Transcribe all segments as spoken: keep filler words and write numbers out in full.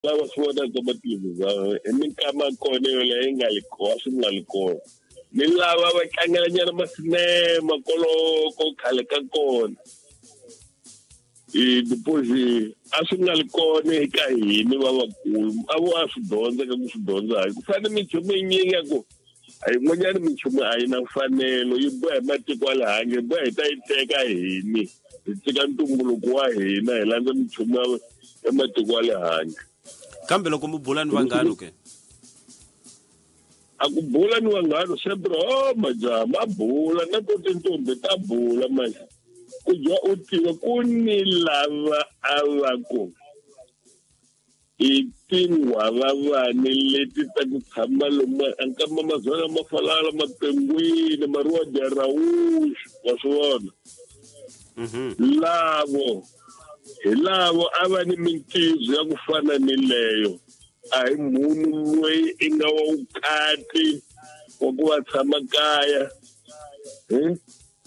Lava swi vonaka matelevisão hi minkama kona yoleyo yi nga li kona swi nga li kona ni lava va tlangelanyana masinema koloko khale ka kona i deposit a swi nga li kona eka hina lavakulu a vo a swi dyondza ka ku swi dyondza hayi ku fana minchumu yinyingi ya ku a yin'wanyana minchumu a yi na mfanelo yi boha hi matiko ya le handle yi boha hi ta yi teka hini hi tshika ntumbuluko wa hina hi landza minchumu ya matiko ya le handle. Kambe loko mi bula ni vanghano ke? A ku bula ni vanghano sempre oh majaha ma bula na to tintombi ta bula manje ku dya u tiva ku ni lava a va ku i tinghwavavani leti ta ku tshama lomu ankama mazwana ma falala mapengwini mariwa dya rawuxi wa swi vona lavo hi lavo a va ni mintizo ya ku fana ni leyo a hi munhu loyi i nga wa vukati wa ku va tshama kaya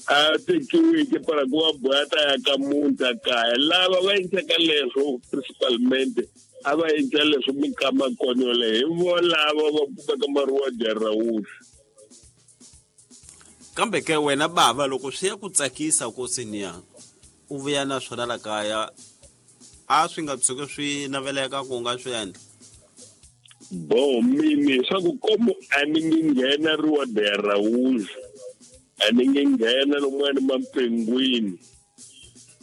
a tekiweke para ku va boha ta ya ka muti a kaya lava va endlaka leswo principalmente a va endla leswo minkama kona yoleyo hi vo lava va kumeka mariwa dya rawuxi. Kambe ke wena bava loko swi ya ku tsakisa ko senior u vuya na swona la kaya a swi nga tshuki swi naveleka ku nga swi endla? Bo mini swa ku komo a ni nge nghena riwa dya rawuxi a ni nge nghena lomuwani mapengwini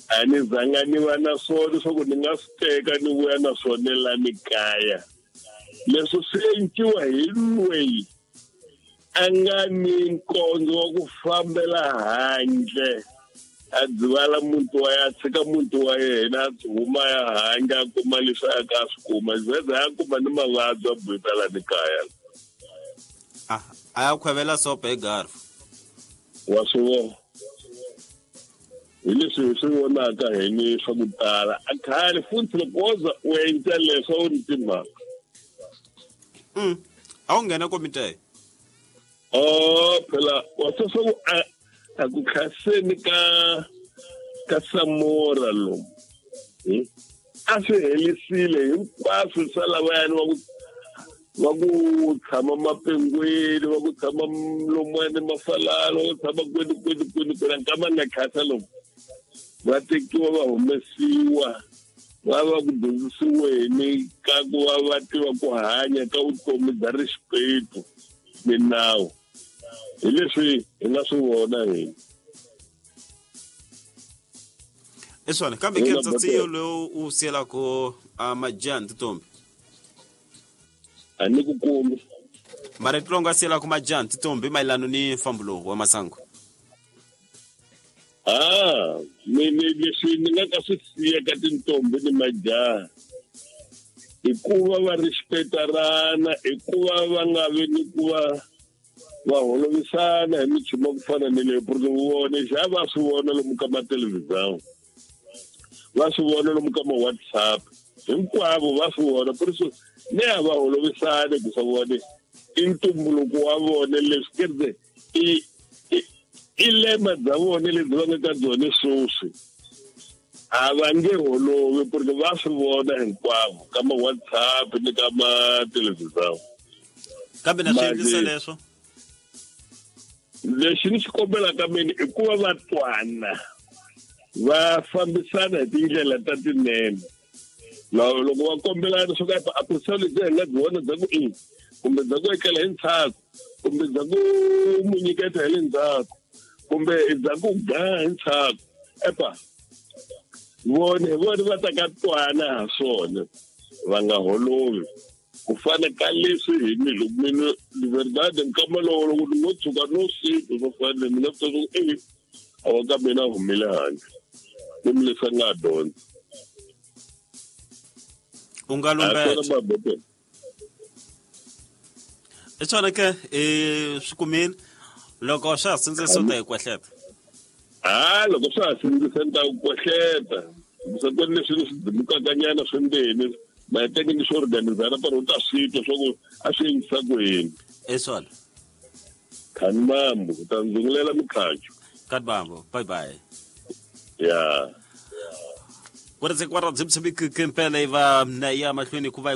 a ni zanga ni va na swona swa ku ni nga swi teka ni vuya na swona la ni kaya leswi swi enciwa hi loyi a nga ni nkondzo wa ku fambela handle a dzivala muti wa ya tshika muti wa yena a huma ya handle a kuma leswi a ka swi kuma zeze a kuma ni mavabyi a buyita la ni kaya a a ya khwevela sopa hi garfu wa swi vona hi leswi hi swi vonaka hi ni swa ku tala a khale futhi loko wo za u endla leswo a wu ni timhaka a wu nghena komite oh phela wa swi swa ku a a ku khaseni ka ka Samora lomu a swi helisile hinkwaswo swa lavayani va ku va ku tshama mapengwini va ku tshama lomuwani mafalala va ku tshama kwini kwini kwini kwini nkama nga khasa lomu va tekiwa va humesiwa va va ku dyondzisiweni ka ku va va tiva ku hanya ka vutomi bya rixipetu minawu hi leswi hi nga swi vona hina. I swona kambe ke ntsatsi lowu u siyelaka majaha ni tintombi a ni ku kumi marito lowu nga siyelaka majaha ni tintombi mayelana ni mfambo lowu wa masangu? Ah mina leswi ni nga ka swi siya ka tintombi ni majaha i ku va va respectarana i ku va va nga vi ni ku va va holovisana hi minchumu ya ku fana ni leyo porque vone xa va swi vona lomu ka matelevisão va swi vona lomu ka ma-WhatsApp hinkwavo va swi vona por isso ne a va holovisani ku swa vone i ntumbuluko wa vona leswi kereke i i lema bya vona lebyi va nga ka byona sweswi a va nge holovi porque va swi vona hinkwavo ka ma-WhatsApp ni ka matelevisão. Kambe na swi endlisa leswo lexi ni xi kombelaka mina i ku va va twana va fambisana hi tindlela ta tinene loko va kombelana swo ka a ku lebyi hi nga byi vona bya ku i kumbe bya ku etlela hi ntshaku kumbe bya ku mu nyiketa hi le ndzhaku kumbe bya ku ga hi ntshaku epa vone hi vona va ta ka twana ha swona va nga holovi ku fana ka leswi hi mi loko mina de verdade nkama lowo loko ni ngo tshuka no siku swo fana ni nga swi ku e a wa ka mina humile handle ni mi leswi a nga dyondza u nga lumbeta i swona ke i swi kumile loko swa ha sindzisa u ta hi kwehleta a loko swa ha sindzisa ni ta ku kwehleta se ku leswi ni swi dimukakanyana swi maheteke ni swo organizana para u ta swi twa swa ku a swi endlisa ku yini i swona khani mambo u ta ndzungulela mikhacho Kadbambo bye bye ya. Ku ri kwara byi mpela yi va na ya mahlweni ku va hi ku